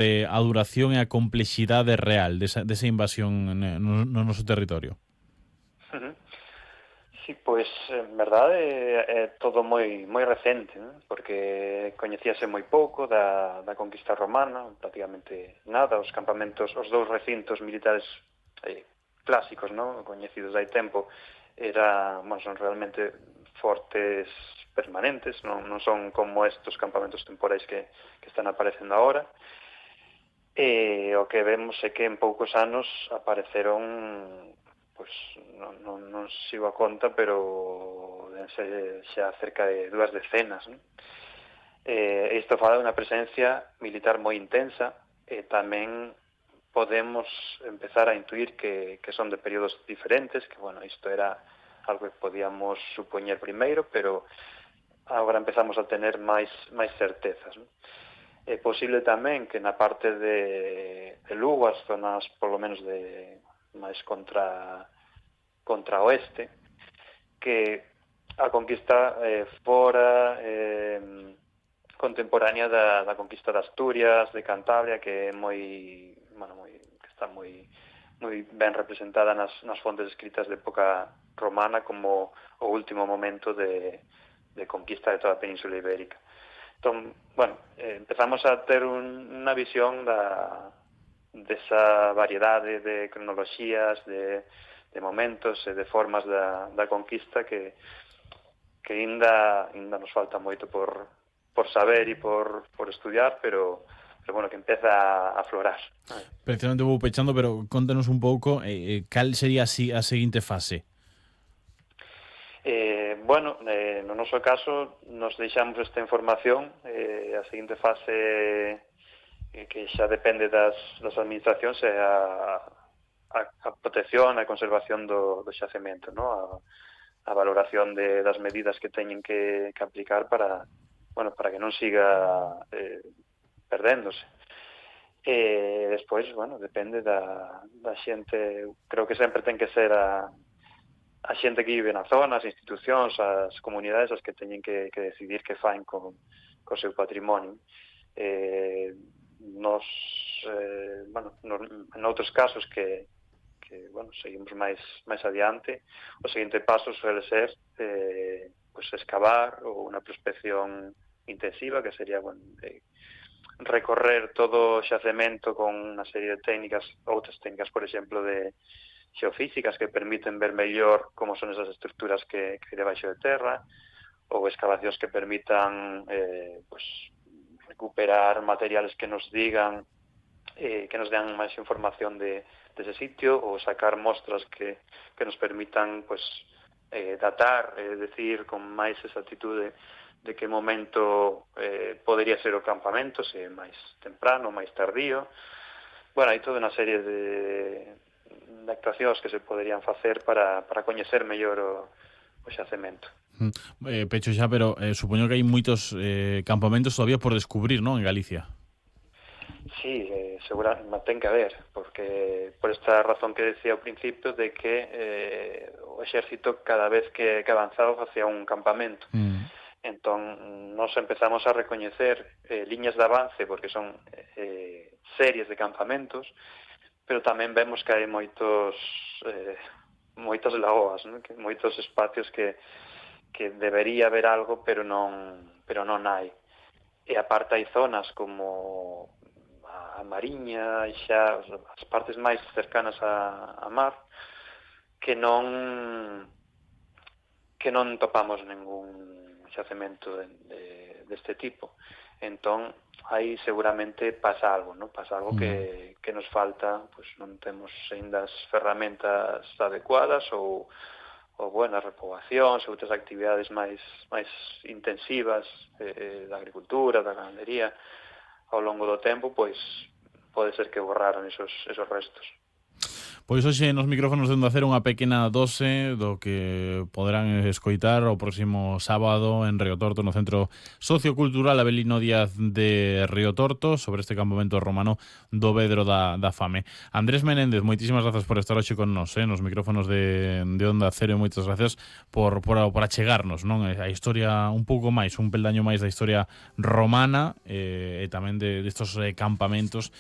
a duración e a complexidade real desa invasión no noso territorio? Ujú. Sí, pois en verdade é todo moi recente, non? Porque coñecíase moi pouco da conquista romana, prácticamente nada, os campamentos, os dous recintos militares clásicos, non? Coñecidos hai tempo, son realmente fortes permanentes, non son como estos campamentos temporais que están aparecendo agora. E o que vemos é que en poucos anos apareceron, pois non sigo a conta, pero dense xa cerca de 2 decenas, non? Isto fala dunha presencia militar moi intensa e tamén podemos empezar a intuir que son de períodos diferentes, que, bueno, isto era algo que podíamos supoñer primeiro, pero agora empezamos a tener máis certezas, non? É posible tamén que na parte de Lugo, as zonas polo menos de máis contra oeste, que a conquista fora contemporánea da conquista de Asturias, de Cantabria, que é que está moi ben representada nas fontes escritas de época romana como o último momento de conquista de toda a Península Ibérica. Entón, empezamos a ter unha visión desa variedade de cronoloxías, de momentos e de formas da conquista que ainda nos falta moito por saber e por estudiar, pero bueno, que empeza a aflorar. Precisamente vou pechando, pero contanos un pouco cal sería así a seguinte fase. No noso caso nos deixamos esta información, a seguinte fase que xa depende das administracións é a protección e a conservación do xacemento, ¿no? A valoración das medidas que teñen que aplicar para que non siga perdéndose. Despois, depende da xente, creo que sempre ten que ser a xente que vive na zona, as institucións, as comunidades as que teñen que decidir que faen co seu patrimonio. Nos, en outros casos que seguimos máis adiante, o seguinte paso suele ser excavar ou unha prospección intensiva, que sería recorrer todo o xacemento con unha serie de técnicas, outras técnicas, por exemplo, de xeofísicas que permiten ver mellor como son esas estruturas que hai debaixo de terra, ou excavacións que permitan recuperar materiales que nos digan que nos den máis información dese sitio, ou sacar mostras que nos permitan datar, decir con máis exactitude de que momento podería ser o campamento, se máis temprano, máis tardío. Hai toda unha serie de actuacións que se poderían facer para coñecer mellor o xacemento. Pecho xa, pero supoño que hai moitos campamentos todavía por descubrir, non, en Galicia? Sí, seguramente ten que haber, porque por esta razón que decía ao principio de que o exército cada vez que avanzaba facía un campamento. Entón, nos empezamos a recoñecer liñas de avance, porque son series de campamentos, pero tamén vemos que hai moitas lagoas, ¿no? Que moitos espacios que debería haber algo, pero non hai. E aparte hai zonas como a Mariña e xa as partes máis cercanas a mar que non topamos ningún xacemento deste tipo. Entón, aí seguramente pasa algo, ¿no? Pasa algo que nos falta, non temos ainda as ferramentas adecuadas ou buenas repobacións, outras actividades máis intensivas da agricultura, da ganadería, ao longo do tempo, pode ser que borraron esos restos. Pois hoxe nos micrófonos de Onda Cero unha pequena dose do que poderán escoitar o próximo sábado en Río Torto, no Centro Sociocultural Avelino Díaz de Río Torto, sobre este campamento romano do Vedro da Fame. Andrés Menéndez, moitísimas grazas por estar hoxe con nos, nos micrófonos de Onda Cero, e moitas grazas por achegarnos, non, a historia un pouco máis, un peldaño máis da historia romana, e tamén destos campamentos